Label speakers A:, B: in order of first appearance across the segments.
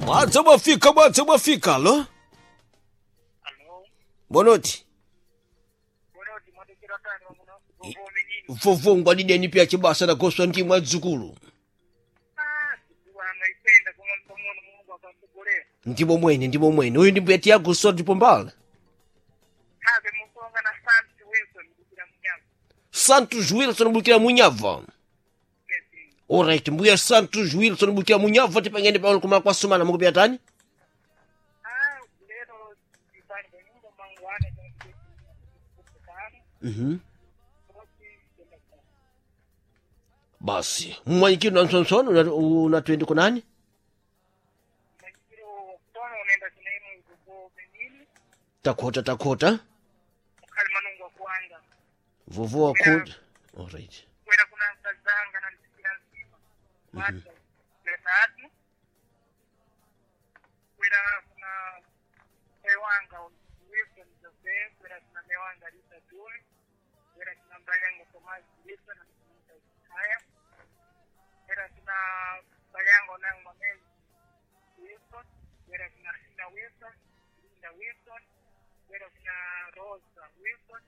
A: Mwadza mwafika, mwadza mwafika, alo.
B: Alo,
A: Bonoti.
B: bonoti mwadekera tani wamuno vovomenini.
A: Vovongwa dideni pya chibasa nagoswa ndi mwadzukulu.
B: Ah, sikuwa anaipenda koma mtomono Mungu akamtogolea.
A: Ndimo mwene, ndimo mwene. Uyu ndi mbuya Tiago Sodi Pombala.
B: Habe musonga na Santi Wilson kukira munyama.
A: Santos Wilson bukira munyava.
B: Yes.
A: Alright, mbuya Santos Wilson bukira munyava tipangene pano kuma kwasumana mukupya tani?
B: Ah, lero tipani kwa nyumba mangwana kwa
A: Mhm.
B: Basi kwenda kwa.
A: Basi, mwanyikiro na msonsono una 20 kunani?
B: Mwanyikiro wakutona unaenda kunaimu vovomenini.
A: Takhota takhota.
B: Mkhali manungu wa kuanga.
A: Vovo wakhota. Alright.
B: Kwera kuna nkazanga na msikira nzima. Wata. Leta atu. Kwera kuna mewanga Wilson Jose, kwera kuna mewanga Rita Duli, kwera kuna mbalyango Thomas Wilson na msimita Haya, kwera kuna mbalyango nangu Mamezi Wilson, kwera kuna Linda Wilson, Linda Wilson, kwera kuna Rosa Wilson,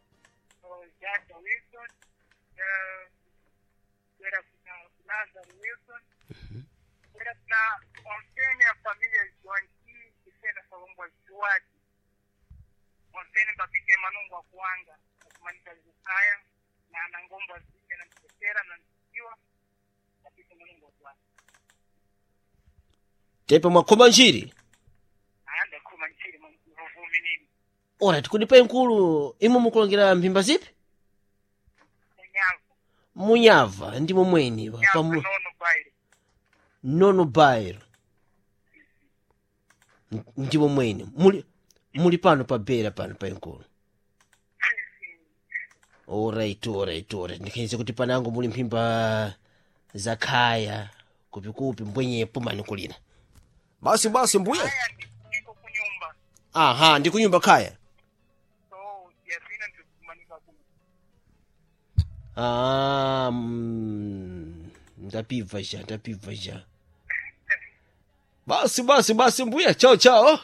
B: Jada Wilson, kwera kuna Lazarus Wilson, kwera kuna ontene ya familia Joanki kisena salongwa Juadi ontene babike manungu akuanga akumanika zikaya na anangomba zike na msekera na msikiwa babike manungu akuanga
A: Tepe mwakhoma njiri.
B: ayanda kuma nchiri mvuvumi nini
A: Alright, kunipa inkulu imwe mukulongera mphimba zipi?
B: munyavu
A: Munyava ndimo mweni
B: nyavu
A: pamu
B: nono baire
A: nono bairo. Ndimo mwene. Muli muli pano pa bera pano pa inkulu. Alright, alright, alright. Ndikhenze kuti panango muli mphimba za khaya kupikupi mbwenyepo mani kulina. Basi basi mbuya.
B: aya ndiko kunyumba
A: Aha, ndi kunyumba khaya.
B: so yasina ndikumanika kuno
A: Ah, ndapibva ja, ndapibva ja. Basi basi basi mbuya, chao chao.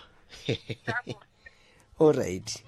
B: Chako.
A: Alright.